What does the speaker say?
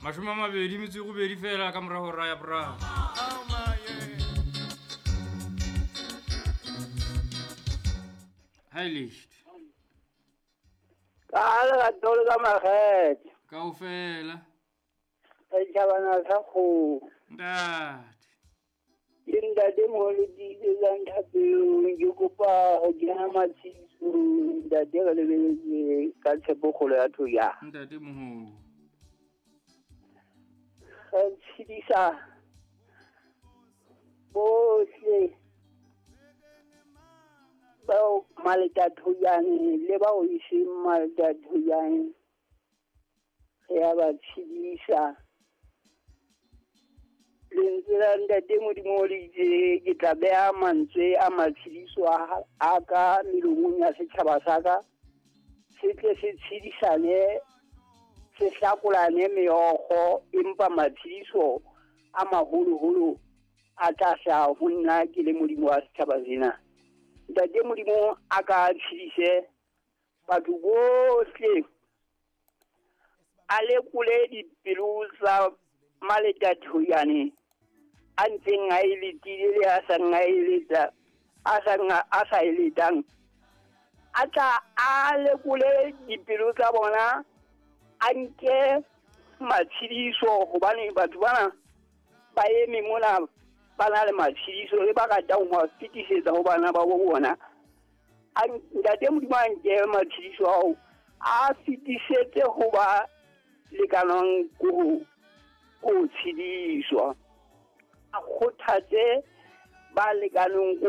28 fela ka morago ra ya boraro. Hi Licht. Ka lerato le ka makgethe. Kaofela. Setjhabana sa kgomo. Ntate. Ke ntate moholo tiisetsang thapelong, ke kopa ho kena matshedisong. Ntate re lebeletse ka tshepo kgolo ya thoya. Ntate moholo. Re tshedisa bohle bao maletathoyane le bao e seng maletathoyane, re ya ba tshedisa. Lentswe la ntate Modimo le itse ke tla beha mantswe a matshediso a ka melomong ya setjhaba sa ka, se tle se tshedisane, se hlakolane meokgo, empa matshediso a maholoholo a tla hlaha ho nna ke le Modimo wa setjhaba sena. Ntate Modimo a ka tshedise batho bohle, a lekole dipelo tsa maletathoyane a ntseng a e letile le a sang a e leta, a sa e letang, a tla a lekole dipelo tsa bona, a nke matshediso, hobane batho bana ba eme mona ba na le matshediso e ba ratang ho a fetisetsa ho bana ba bo bona. Ntate Modimo a nke matshediso ao a fetisetse ho ba lekanang ko ho tshediswa, a kgothatse ba lekaneng ko